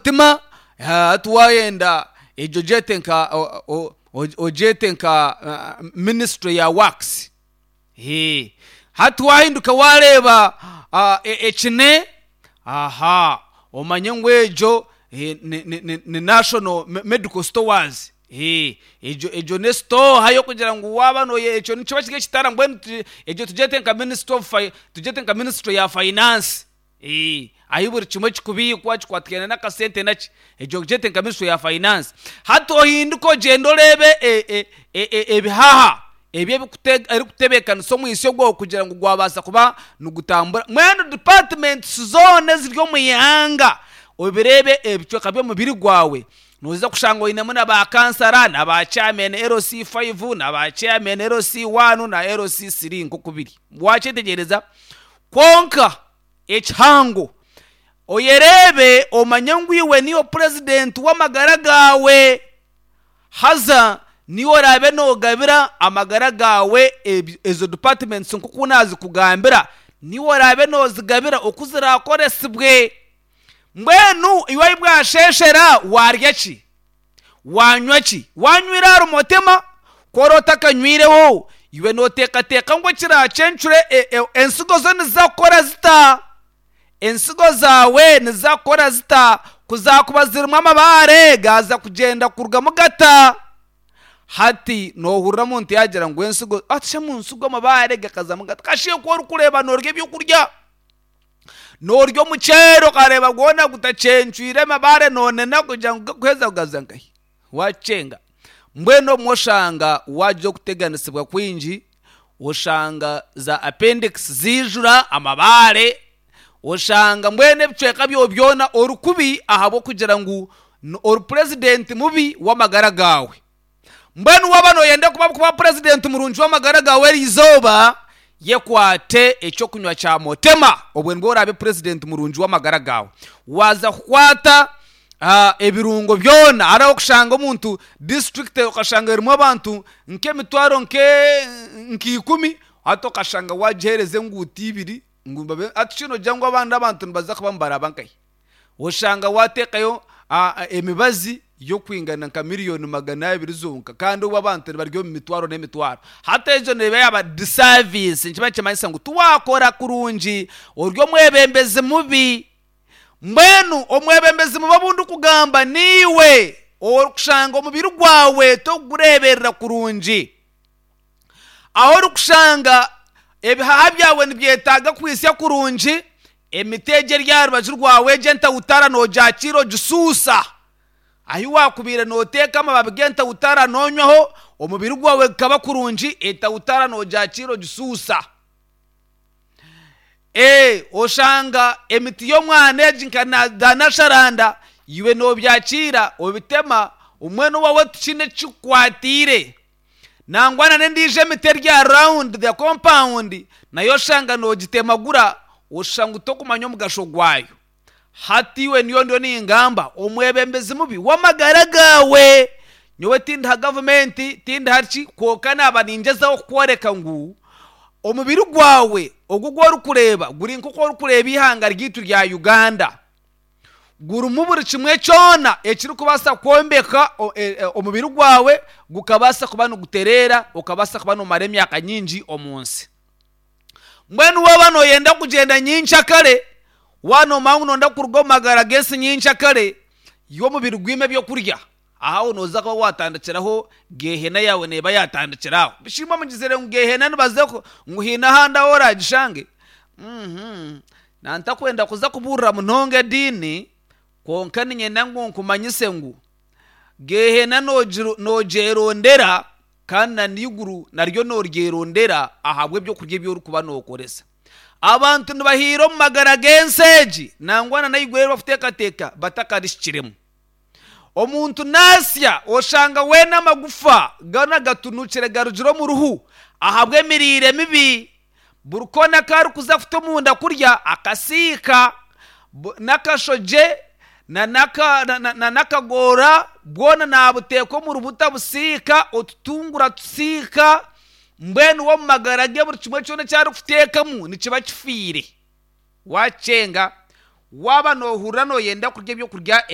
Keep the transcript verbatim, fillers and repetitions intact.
Mutima. Hati waayenda egyo gyete nka ogyete nka ministry ya works. Hati waahinduka waareeba ekine, aha omanye ngu egyo ni National Medical Stores. Egyo egyo n'esitooha y'okugira ngu waaba ekyo nikiba kiri ekitara, mbwenu egyo tugyete nka ministry of tugyete nka ministry ya finance, ahu buri kimwe kirikubiikwa kikwatiraine n'akasente naki, egyo ogyete nka ministry ya finance. Hati ohinduke ogyende oreebe ebihaha ebi ebirikutebeekanisa omwitsyo gwawe kugira ngu gwabaasa kuba nigutambura. Mbwenu departments zoona eziri omu ihanga obireebe ebicweka by'omubiri gwawe, noija kushanga oinemu na baakansara na ba chairman L C five na ba chairman L C one na L C three nk'oku biri. Waakyetegyereza? Kwonka ekihango oyereebe omanye ngu iwe niiwe purezidenti w'amagara gaawe, haza niiwe oraabe noogabira amagara gaawe ezo departments nk'oku naazikugambira, niiwe oraabe noozigabira oku ziraakoresibwe. Mbwenu iwe ahi bwasheeshera waarya ki, waanywa ki? Waanywire ahari Mutima? Ku ori otakanywireho, iwe nooteekateeka ngu ekiraakyencure ensigo zo niziza kukora zita? Ensigo zaawe niziza kukora zita? Ku zaakuba zirimu amabaare gaaza kugyenda kurugamu gata? Hati noohurira omuntu yaagira ngu ensigo, ati shi omu nsigo amabaare gakazamu gata? Kasha ku orikureeba noorya ebyokurya, noorya omuceeri okareeba gwona gutacwencwire amabaare noonena kugira ngu gakuheza kugaza nkahi? Waakyenga. Mbwenu obumwe oshanga waagira okuteganisibwa kwingi, oshanga za appendix ziijura amabaare, oshanga mbwenu ebicweka byawe byona ori kubi ahabw'okugira ngu ori purezidenti mubi w'amagara gaawe. Mbwenu waaba nooyenda kuba kuba purezidenti murungi w'amagara gaawe eri izooba, yekwate ekyokunywa kya Motema, obwo nibwo oraabe purezidenti murungi w'amagara gaawe. Waaza kukwata ebirungo byona, hariho okushanga omuntu disiturikiti okashanga erimu abantu nk'emitwaro nka ikumi, hati okashanga waagiheereza enguuto ibiri ngu babe, hati shi noogira ngu abandi abantu nibaza kuba nibaraba nkahi? Oshanga waateekayo emibazi y'okwingana nka miriyoni magana abiri zonka kandi obwo abantu nibari omu mitwaro n'emitwaro. Hati egyo neeba yaaba disaaviisi, nikiba nikimanyisa ngu tiwaakora kurungi, ori omwebembezi mubi. Mbwenu omwebembezi mubi obu ndikugamba niiwe orikushanga omubiri gwawe torikugureeberera kurungi. Ahu orikushanga ebihaha byawe nibyetaaga kwitsya kurungi, emiti egi eri aha rubaju rwawe egi entawutara noogyakiira ogisuusa. Ahi waakubaire nooteeka amababi g'entawutara noonywaho, omubiri gwawe gukaba kurungi, entawutara noogyakiira ogisuusa. Ee, oshanga emiti y'omwana egi nka za nasharanda, iwe noobyakiira obitema, mbwenu owaawe tikiine eki kikukwatiire. Nangwa na n'endiijo emiti eri aha round the compound nayo oshanga noogitemagura, oshusha ngu torikumanya omugasho gwayo. Hati iwe niyo ndiyo ningamba omwebembezi mubi w'amagara gaawe. Nyowe tindiha gavumenti, tindiha ki, kwonka naaba ningyezaho kukworeka ngu omubiri gwawe ogu ogu orikureeba guri nk'oku orikureeba eihanga ryaitu rya Uganda. Gurimu buri kimwe kyona ekirikubaasa kwombeka omubiri gwawe gukabaasa kuba nigutereera, okabaasa kuba noomara emyaka nyingi omu nsi. Mbwenu waaba nooyenda kugyenda nyenkyakare, waaba noomanya ngu nooyenda kuruga omu magara g'ensi nyenkyakare, iwe omubiri gwine ebyokurya, aho nooza kuba waatandikiraho geehena yaawe neeba yaatandikira aho. Bishi imwe mugizire ngu geehena nibaza ngu haine ahandi ahu oraagishange? Nantakwenda kuza kubuurira munonga ediini, kwonka niinyenda ngu nkumanyise ngu geehena noogyerondera kandi na n'eiguru naryo nooryerondera ahabw'ebyokurya ebi orikuba nookoresa. Abantu nibahiira omu magara g'ensi egi nangwa na n'eiguru eri barikuteekateeka batakarihikiremu. Omuntu naasya oshanga weena amagufa goona gatunukire garugire omu ruhu ahabw'emiriire mibi. Buri koona aku arikuza kuta omunda kurya akasiika n'akashogye n'akagoora bwona naabuteeka omu rubuta abusiika, otutunguru atusiika, mbwenu we omu magara ge buri kimwe kyona eki arikuteekamu nikiba kifiire. Waakyenga, waaba noohurira nooyenda kurya ebyokurya.